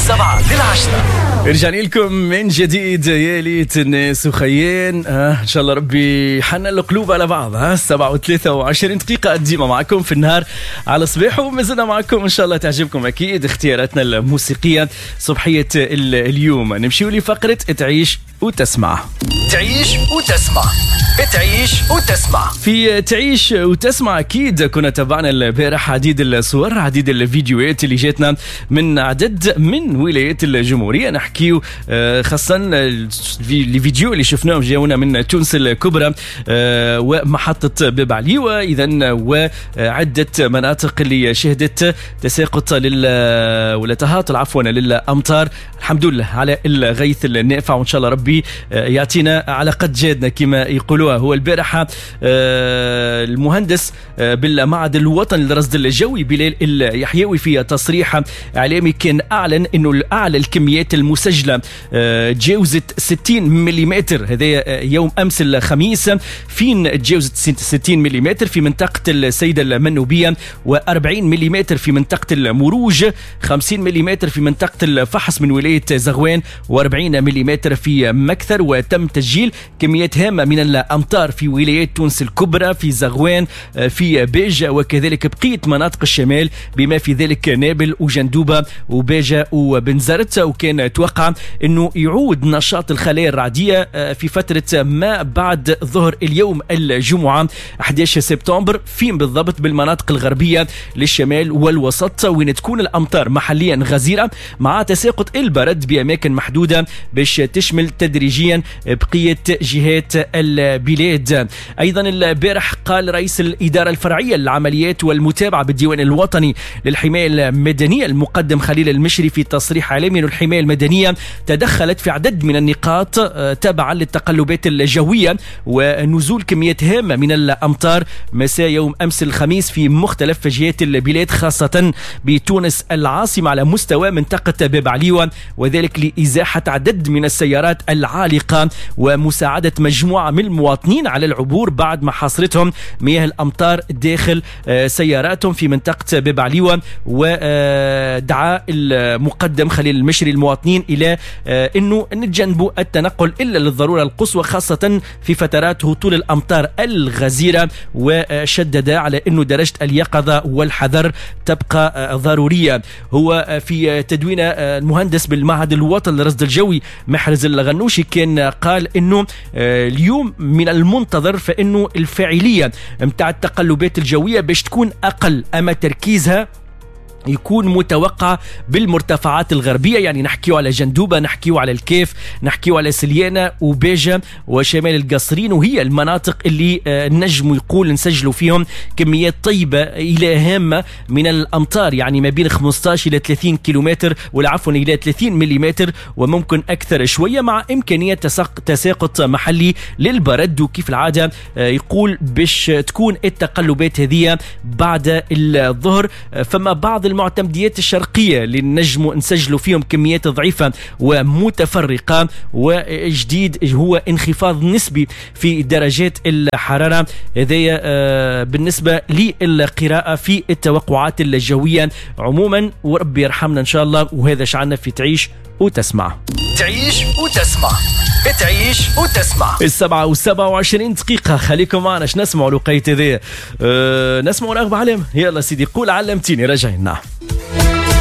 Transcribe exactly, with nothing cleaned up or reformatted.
السبعة للعشرة. رجعنا لكم من جديد يا ليت الناس وخيين، آه ان شاء الله ربي حنا القلوب على بعض. ها سبعة وثلاثة وعشرين دقيقة ديما معكم في النهار على صباح، ومازلنا معكم ان شاء الله تعجبكم اكيد اختياراتنا الموسيقية صبحية اليوم. نمشيو لفقرة تعيش وتسمع. تعيش وتسمع، تعيش وتسمع. في تعيش وتسمع اكيد كنا تابعنا البارح عديد الصور، عديد الفيديوهات اللي جاتنا من عدد من ولايات الجمهورية. نحكيو خاصة الفيديو اللي شفناهم جاونا من تونس الكبرى ومحطة باب عليوة، اذا وعدة مناطق اللي شهدت تساقط لل ولا تهاطل عفوا للامطار. الحمد لله على الغيث النافع، وان شاء الله ربي يعطينا على قد جادنا كما يقولوها. هو البارحة المهندس بالمعهد الوطني للرصد الجوي بلال اليحيوي في تصريح اعلامي كان اعلن انه اعلى الكميات المسجلة تجاوزت ستين ملم، هذا يوم امس الخميس، فين تجاوزت ستين ملم في منطقة السيدة المنوبية، وأربعين ملم في منطقة المروج، خمسين ملم في منطقة الفحص من ولاية زغوان، وأربعين ملم في مكثر. وتم تسجيل كميات هامة من الأمطار في ولايات تونس الكبرى، في زغوان، في باجة، وكذلك بقية مناطق الشمال بما في ذلك نابل وجندوبة وباجة وبنزرت. وكان توقع أنه يعود نشاط الخلايا الرعدية في فترة ما بعد ظهر اليوم الجمعة أحد عشر سبتمبر، فين بالضبط بالمناطق الغربية للشمال والوسط، وين تكون الأمطار محليا غزيرة مع تساقط البرد بأماكن محدودة باش تشمل تدريجيا بقية جهات البلاد. أيضا البارح قال رئيس الإدارة الفرعية للعمليات والمتابعة بالديوان الوطني للحماية المدنية المقدم خليل المشري في تصريح إعلامي أن الحماية المدنية تدخلت في عدد من النقاط تبعا للتقلبات الجوية ونزول كميات هامة من الأمطار مساء يوم أمس الخميس في مختلف جهات البلاد، خاصة بتونس العاصمة على مستوى منطقة باب عليوة، وذلك لإزاحة عدد من السيارات العالقة ومساعدة مجموعة من المواطنين على العبور بعد ما حاصرتهم مياه الأمطار داخل سياراتهم في منطقة باب عليوة. ودعا المقدم خليل المشري المواطنين إلى أنه نتجنبوا التنقل إلا للضرورة القصوى، خاصة في فترات هطول الأمطار الغزيرة، وشدد على أنه درجة اليقظة والحذر تبقى ضرورية. هو في تدوين المهندس بالمعهد الوطني للرصد الجوي محرز الغنوشي كان قال أنه اليوم من المنتظر فإنه الفاعلية متاع التقلبات الجوية باش تكون أقل، أما تركيزها يكون متوقع بالمرتفعات الغربية، يعني نحكيو على جندوبة، نحكيو على الكيف، نحكيو على سليانة وباجة وشمال القصرين، وهي المناطق اللي نجم يقول نسجلوا فيهم كميات طيبة إلى هامة من الأمطار، يعني ما بين خمسة عشر إلى ثلاثين كيلومتر ولا عفوا إلى ثلاثين مليمتر وممكن أكثر شوية، مع إمكانية تساقط محلي للبرد. وكيف العادة يقول باش تكون التقلبات هذه بعد الظهر. فما بعض المعتمديات الشرقية اللي نجموا نسجلوا فيهم كميات ضعيفة ومتفرقة، وجديد هو انخفاض نسبي في درجات الحرارة. هذا بالنسبة للقراءة في التوقعات الجوية عموما، وربي يرحمنا إن شاء الله. وهذا شعنا في تعيش وتسمع. تعيش وتسمع، تعيش وتسمع. السبعة وسبعة وعشرين دقيقة، خليكم معنا. اش نسمعوا لقيت ذي؟ أه نسمعوا رغبة علم. يلا سيدي قول علمتيني، رجعنا.